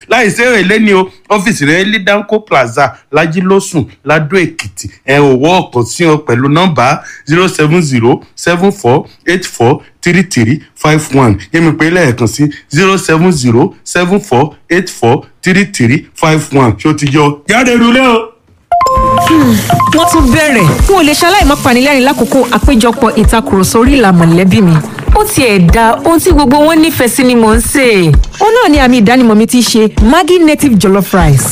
Láì sí èrè lẹ́ni o, ọ́fíìsì rẹ̀ ní Danco Plaza, Lajilósùn, Ladó Èkìtì. Ẹ ò wọ́ ọ̀kan sí ọ pẹ̀lú nọ́mbà 07074843351. Yẹ́mi pé lẹ́ẹ̀kan sí 07074843351. Ṣé o ti yọ? Jáde rúlé o. Wọ́n tún bẹ̀rẹ̀. N ò lè ṣaláì má panilẹ́rìn lákòókò àpéjọpọ̀ ìtakùrọ̀sọ orí ìlà mọ̀lẹ́bí mi. Ó tiẹ̀ da ohun tí gbogbo wọn nífẹ̀ẹ́ sí ni mò ń sè é. Ó náà ni àmì ìdánimọ̀ mi ti ṣe Maggi native jollof rice.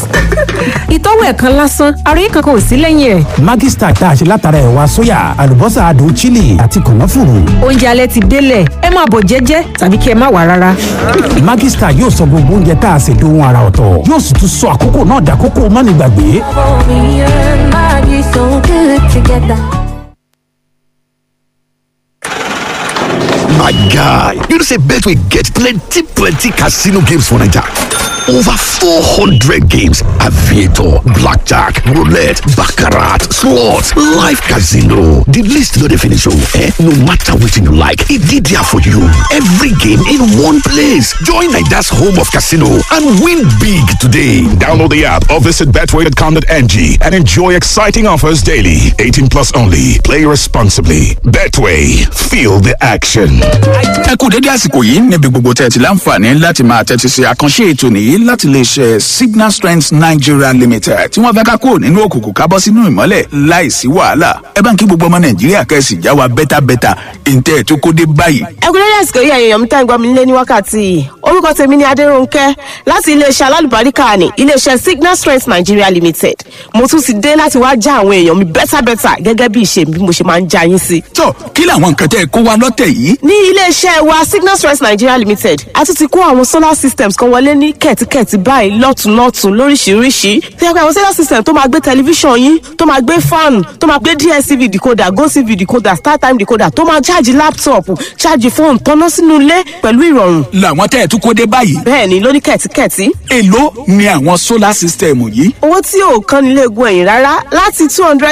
Ìtọ́wò ẹ̀kan lásán, àròyé kankan ò sí lẹ́yìn ẹ̀. Maggi Star tá a ṣe látara ẹ̀wà sóyà, àlùbọ́sà adùn chili àti kànáfùrù. Oúnjẹ alẹ́ ti délẹ̀, ẹ máa bọ̀ jẹ́jẹ́ tàbí kí ẹ má wà rárá. Maggi Star yóò sọ gbogbo oúnjẹ tá a ṣe dohun ara ọ̀tọ̀, yóò sì tún sọ àkókò náà dàkókò mánigbàgbé. Me and Maggie so good together. My guy, you know say Betway get plenty plenty casino games for Naija. Over 400 games, aviator, blackjack, roulette, baccarat, slots, live casino. The list no dey finish oh, eh? No matter wetin you like, e dey there for you. Every game in one place. Join Naija's home of casino and win big today. Download the app or visit betway.com.ng and enjoy exciting offers daily. 18 plus only. Play responsibly. Betway. Feel the action. Ẹ kú dédé àsìkò yìí níbi gbogbo tẹ́ ẹ ti láǹfààní láti máa tẹ́tí sí àkànṣe ètò nìyí láti lè ṣe Signal Strength Nigeria Limited, tí wọ́n fẹ́ ká kúrò nínú òkùnkùn ká bọ́ sínú ìmọ́lẹ̀ láìsí wàhálà. Ẹ bá ń kí gbogbo ọmọ Nàìjíríà kẹ́sì já wa bẹ́tàbẹ́tà ìǹtẹ́ tó kó dé báyìí. Ẹkúnlẹ́dẹ̀ àsìkò yìí, ẹ̀yin èèyàn mi tá ń gbọ́ mi nílé ní wákàtí yìí. Orúkọ tèmi ni Adérónkẹ́ láti iléeṣẹ́ alálùbáríkà ní iléeṣẹ́ Signal Strength Nigeria Limited. Mo tún ti dé láti wá já àwọn èèyàn mi bẹ́tàbẹ́tà gẹ́gẹ́ bí ìṣe mi bí mo ṣe máa ń já yín sí. Tó kí làwọn nǹkan tẹ́ ẹ kó wa lọ́tẹ̀ yìí? Ní iléeṣẹ́ wa Signal Strength Nigeria Limited, a tún ti kó àwọn solar systems kan wọlé ní kẹ̀tíkẹ̀tí báyìí lọ́tùnlọ́tùn lóríṣiríṣi, tó yẹ pé àwọn solar system tó máa gbé tẹlifíṣàn yín, tó máa gbé fan, tó máa gbé DStv decoder, GoTv decoder, StarTime decoder, tó máa ṣáàjì laptop, ṣáàjì fóònù, tọ́ná sínú ilé pẹ̀lú ìrọ̀rùn. Làwọn tẹ́ ẹ tún kó dé báyìí? Bẹ́ẹ̀ ni, lóní kẹ̀tíkẹ̀tí. Èló ni àwọn solar system yìí? Owó tí ò kan nílé egun ẹ̀yìn rárá, láti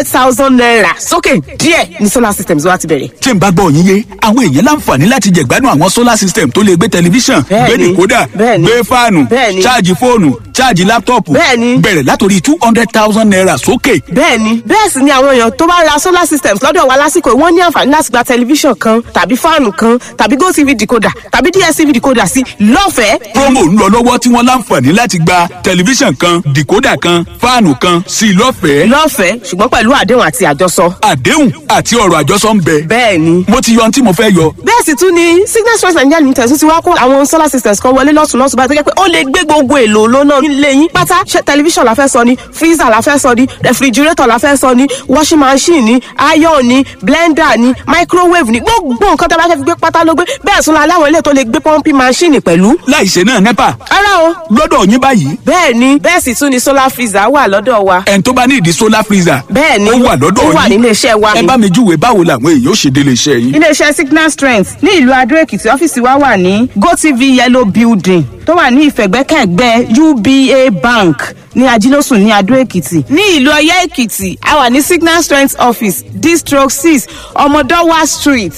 ₦200,000 sókè díẹ̀ ní solar systems wa ti bẹ̀rẹ̀. Tí n bá gbọ́ yín yé, àwọn èèyàn láǹfààní láti jẹ̀gbádùn àwọn solar system tó lè gbé tẹlifíṣàn, gbé Bẹ́ẹ̀ni, dìkódà, bẹ́ẹ̀ni, gbé fáànù, bẹ́ẹ̀ni, ṣáàjì fóònù, ṣáàjì láptọ̀pù, Bẹ́ẹ̀ni. bẹ̀rẹ̀ látòrí ₦200,000 sókè. Bẹ́ẹ̀ni, bẹ́ẹ̀ sì ni àwọn èèyàn tó bá ra solar systems lọ́dọ̀ wa lásìkò yìí, wọ́n ní àǹfààní láti gba tẹlifíṣàn kan tàbí fáànù kan tàbí GoTv decoder tàbí DStv decoder sí lọ́fẹ̀ẹ́. Promo ń lọ lọ́wọ́ tí wọ́n láǹfààní láti gba tẹlifíṣàn kan, dìkódà kan, fáànù kan sí i lọ́fẹ̀ẹ́. Lọ́fẹ̀ẹ́, ṣùgbọ́n pẹ̀lú àdéhùn àti àjọsọ. Àdéhùn àti ọ̀rọ̀ àjọsọ ń bẹ? Bẹ́ẹ̀ni. Mo ti yọ ohun tí mo fẹ́ yọ. Bẹ́ẹ̀ sì tún ni Signal Strength Nigeria Limited tún ti wá kó àwọn solar systems kan wọlé lọ́tùnlọ́tùn báyìí, tó jẹ́ pé ó lè gbé gbogbo èlò lónà nílé yín pátá. Ṣé tẹlifíṣàn la fẹ́ sọ ni, freezer la fẹ́ sọ ni, refrigerator la fẹ́ sọ ni, washing machine ni, iron ni, blender ni, microwave ni, gbogbo nǹkan tó bá fẹ́ fi gbé pátá ló gbé. Bẹ́ẹ̀ tún la láwọn ilé tó lè gbé pumping machine pẹ̀lú. Láìṣe náà NEPA? Rárá o. Lọ́dọ̀ yín báyìí? Bẹ́ẹ̀ ni, bẹ́ẹ̀ sì tún ni solar freezer wà lọ́dọ̀ wa. Ẹni tó bá ní ìdí solar freezer? Bẹ́ẹ̀ ni. Ó wà lọ́dọ̀ Ó yín? wà nílé iṣẹ́ wa. Ẹ bá mi júwe báwo làwọn èèyàn ó ṣe délé iṣẹ́ yín. Iléeṣẹ́ Signal Strength ní ìlú Adó Èkìtì, ọ́fíìsì wa wà ní GoTv yellow building tó wà ní ìfẹ̀gbẹ́kẹ̀gbẹ́ UBA Bank ní Ajílósùn ní Adó Èkìtì. Ní ìlú Ọ̀yẹ́ Èkìtì, a wà ní Signal Strength office, District 6, Ọmọdọ́wà Street,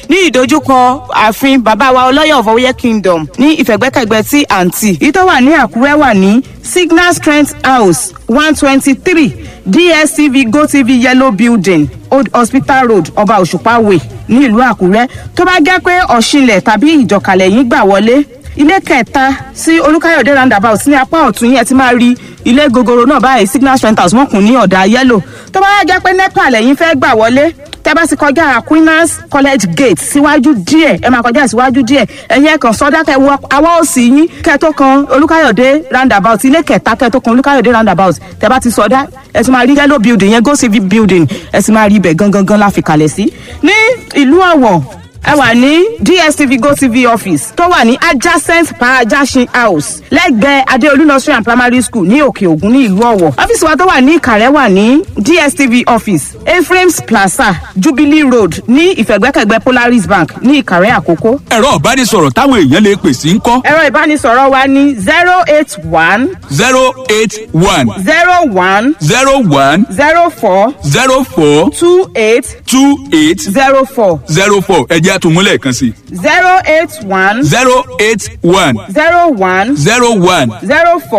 ní ìdojúkọ ààfin bàbá wa Ọlọ́yọ̀ of Ọ̀yẹ́ Kingdom, ní ìfẹ̀gbẹ́kẹ̀gbẹ́ tí àǹtí. Èyí tó wà ní Àkúrẹ́ wà ní Signal Strength House, 123 DSTV GoTv yellow building, Old Hospital Road, Ọba Òṣùpá Way, ní ìlú Àkúrẹ́. Tó bá jẹ́ pé Ọ̀ṣinlẹ̀ tàbí Ìjọkàlẹ̀ yín gbà wọlé, ilé kẹta sí Olúkáyọ̀dé roundabout ní apá ọ̀tún yẹn ti máa rí ilé gogoro náà báyìí, Signal Strength House, wọ́n kùn ní ọ̀dà yellow. Tó bá wá jẹ́ pé NEPA lẹ́yìn fẹ́ gbà wọlé, tẹ́ bá ti kọjá Aquinas College gate síwájú díẹ̀, ẹ máa kọjá síwájú díẹ̀, ẹ̀yin ẹ̀kan sọ́dá, kẹ́ wọ awọ́ òsì yín, kẹ́ tó kan Olúkáyọ̀dé roundabout, ilé kẹta kẹ́ tó kan Olúkáyọ̀dé roundabout. Tẹ́ bá ti sọdá, ẹ ti máa rí yellow building yẹn, Go Civic building, ẹ ti máa rí ibẹ̀ gangan gan la fi kalẹ̀ sí. Ní ìlú Ọ̀wọ̀, ẹ wà ní DSTV GoTv office tó wà ní adjacent Parajasin House, lẹ́gbẹ̀ẹ́ Adeolu Nursery and Primary School ní Òkè Ògùn ní ìlú Ọ̀wọ̀. Ọ́fíìsì wa tó wà ní Ìkàrẹ́ wà ní DSTV office, Ephraim's Plaza, Jubilee Road, ní ìfẹ̀gbẹ́kẹ̀gbẹ́ Polaris Bank ní Ìkàrẹ́ Àkókò. Ẹ̀rọ ìbánisọ̀rọ̀ táwọn èèyàn lè pè sí ń kọ́? Ẹ̀rọ ìbánisọ̀rọ̀ wa ní 081 081 01 01 04 04 28 28 04. 04. Ẹ jẹ́ àtúnmúlẹ̀ kan sí. 081 081 01 01 04.